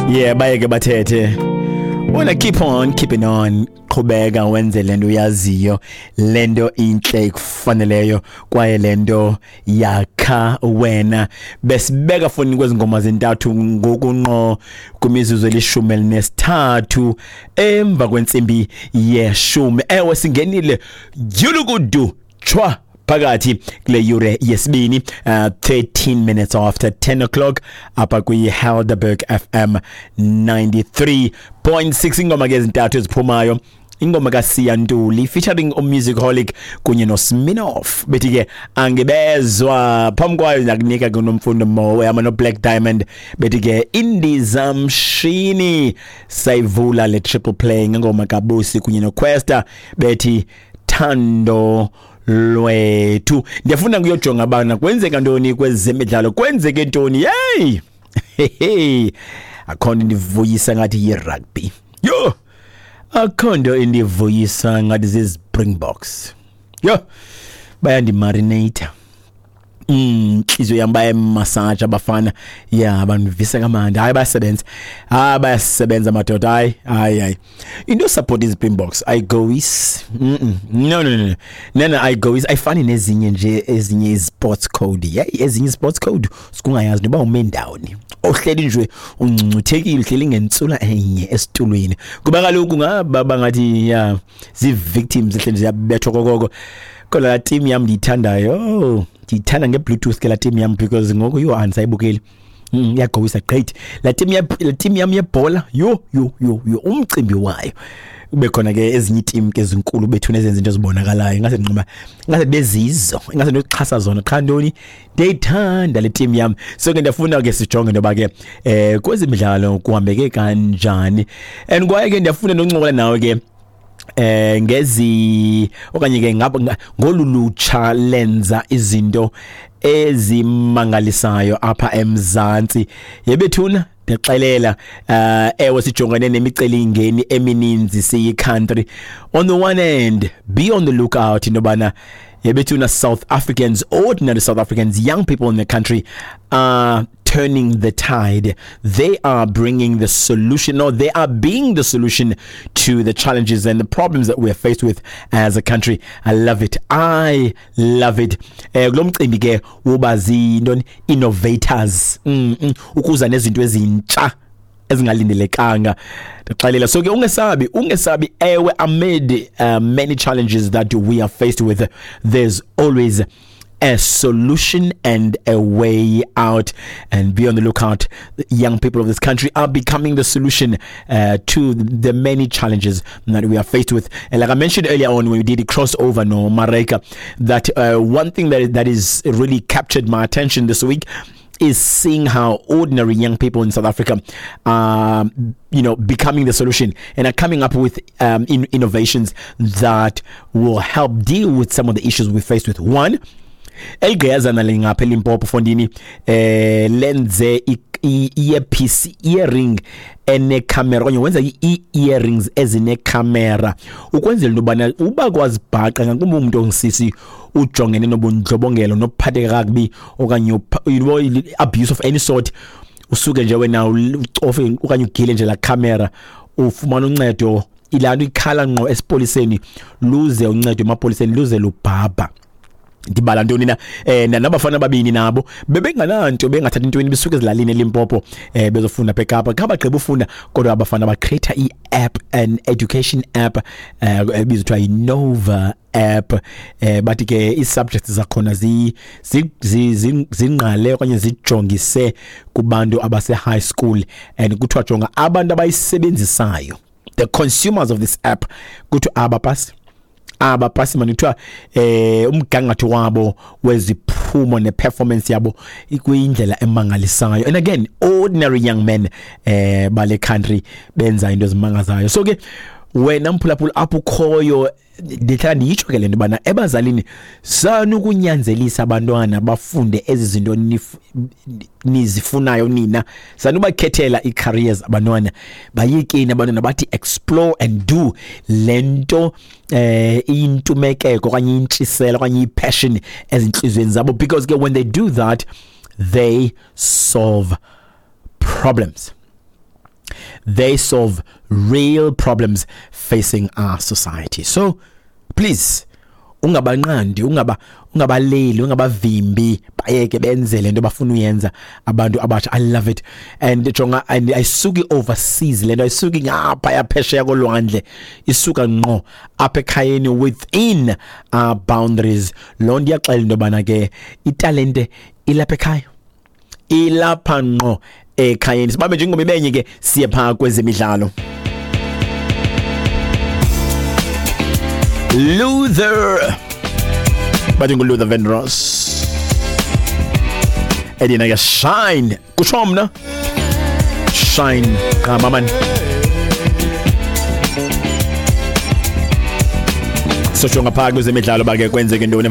Yeah, bayeke bathethe. Wena keep on keeping on, qhubeka wenze lento uyaziyo, lento inhle ikufaneleyo kwaye lento yakha wena. Besibeka foni kwezi ngoma zintathu ngokunqo kwimizuzu 13 emva kwentsimbi 10. Ewe, singenile yulukudu chwa phakathi kule yure yesibini, 13 minutes after 10 o'clock apha kwi-Helderberg FM 93.6. Ingoma ke ezintathu eziphumayo, ingoma kaSiya Ntuli featuring uMusicholic kunye noSminoff, bethi ke Angibezwa. Phambi kwayo nakunika kuNomfundo Mowe ama no Black Diamond, bethi ke Indizamshini. Sayivula le triple play ngengoma kaBusi kunye noQuesta, bethi Thando Lwethu. Ndiyafuna kuyojonga bana kwenzeka ntoni kwezemidlalo, kwenzeke ntoni. Hey hey, akho nto indivuyisa ngathi yi-rugby. Yho, akho nto indivuyisa ngathi zii-Springboks. Yho, bayandimarinata, inhliziyo yami bayemassage abafana. Ya, bandivisa kamandi. Hayi, bayasebenza, hayi, bayasebenza madoda. Hayi, hayi, hayi, into support iSpringboks ayigowisi. No, no, no, no, no, ayigowisi, ayifani nezinye nje, ezinye isports code. Yeah, ezinye sports code sikungayazi noba ume ndawoni, ohleli nje ungcungcuthekile, uhleli ngentsula enye esitulweni, kuba kaloku ngaba bangathi ya zii-victims ehleli ziyabethwa kokoko. Kodwa la team yam ndiyithandayo, oh, ndiyithanda nge-Bluetooth ke la team yam, because ngoku yho, andisayibukeli. Iyagowisa gqithi la team ya, la team yam yebhola. Yho yho yho yho, umcimbi wayo kube khona ke ezinye iiteam ke ezinkulu bethu nezenza into ezibonakalayo, ingase nquma, ingase bezizo, ingase nokuxhasa zona qha. Ntoni, ndiyayithanda le team yam. So ke ndiyafuna ke sijonge into yoba ke kwezemidlalo kuhambeke kanjani, and kwaye ke ndiyafuna noncokola nawe ke ngezi okanye ke ngabo ngolu lutsha lenza izinto ezimangalisayo apha eMzantsi. Yebethuna, ndixelela, ewe, sijongene nemicelingeni emininzi siyi-country. On the one hand, be on the lookout into yobana yebethuna, South Africans, ordinary South Africans, young people in the country are turning the tide. They are bringing the solution, or they are being the solution to the challenges and the problems that we are faced with as a country. I love it. I love it. Kulo mcimbi ke woba zintoni, innovators, ukuza nezinto ezintsha ezingalindelekanga, ndixelela. So ke ungesabi, ungesabi. Ewe, amid many challenges that we are faced with, there's always a solution and a way out. And be on the lookout. The young people of this country are becoming the solution to the many challenges that we are faced with. And like I mentioned earlier on when we did the crossover no Mareka, that one thing that is really captured my attention this week is seeing how ordinary young people in South Africa are becoming the solution and are coming up with innovations that will help deal with some of the issues we faced with. One, eligqiyazana lingapha eLimpopo fondini, lenze i-earpiece, earring enecamera, okanye wenza i-earrings ezinecamera ukwenzela into yobana uba kwazibhaqa, ngakumbi umntu ongisisi ujongene nobundlobongelo nokuphatheka kakubi okanye abuse of any sort, usuke nje wena ucofe okanye ugile nje la camera, ufumana uncedo. Ilaa nto ikhala ngqo esipoliseni, luze uncedo emapoliseni luze lubhabha. Ndibala ntoni na, nabafana ababini nabo bebengananto, bengathathi intweni, besuka ezilalini eLimpopo, bezofunda apha eKapa. Kha bagqiba ufunda, kodwa abafana bacreate i-app, an education app ebizwa kuthiwa yiNova app. Bathi ke ii-subjects zakhona zingqale okanye zijongise kubantu abase-high school, and kuthiwa jonga abantu abayisebenzisayo, the consumers of this app, kuthiwa abapasi, abapasi mani. Kuthiwa umgangatho wabo weziphumo neperformance yabo ikwindlela emangalisayo. And again, ordinary young men bale country benza into ezimangazayo. So ke wena mphulaphula apho ukhoyo, ndihlala ndiyitsho ke le nto bana ebazalini, sanukunyanzelisa abantwana bafunde ezi zinto nizifunayo nina. Sanubakhethela ii-careers abantwana, bayekeni abantwana bathi explore and do le nto intumekeko okanye intshiselo okanye i-passion ezintliziyweni zabo, because ke when they do that, they solve problems. They solve real problems facing our society. So please, ungabanqandi, ungabaleli, ungabavimbi, bayeke benze lento bafuna uyenza abantu abatsha. I love it. And jonga, and ayisuki overseas lento, ayisuki ngapha yaphesheya kolwandle, isuka ngqo apha ekhayeni within our boundaries. Loo nto iyaxela into yobana ke italente ilapha ekhaya, ilapha ngqo ekhayeni. Sibambe nje ingoma ibenye ke, siye phaa kwezemidlalo. Luther, bathi nguLuther Vandross, edina ke Shine, kutsho mna Shine qhama mani. Sojonga phaa kwezemidlalo bake kwenzeke ntoni.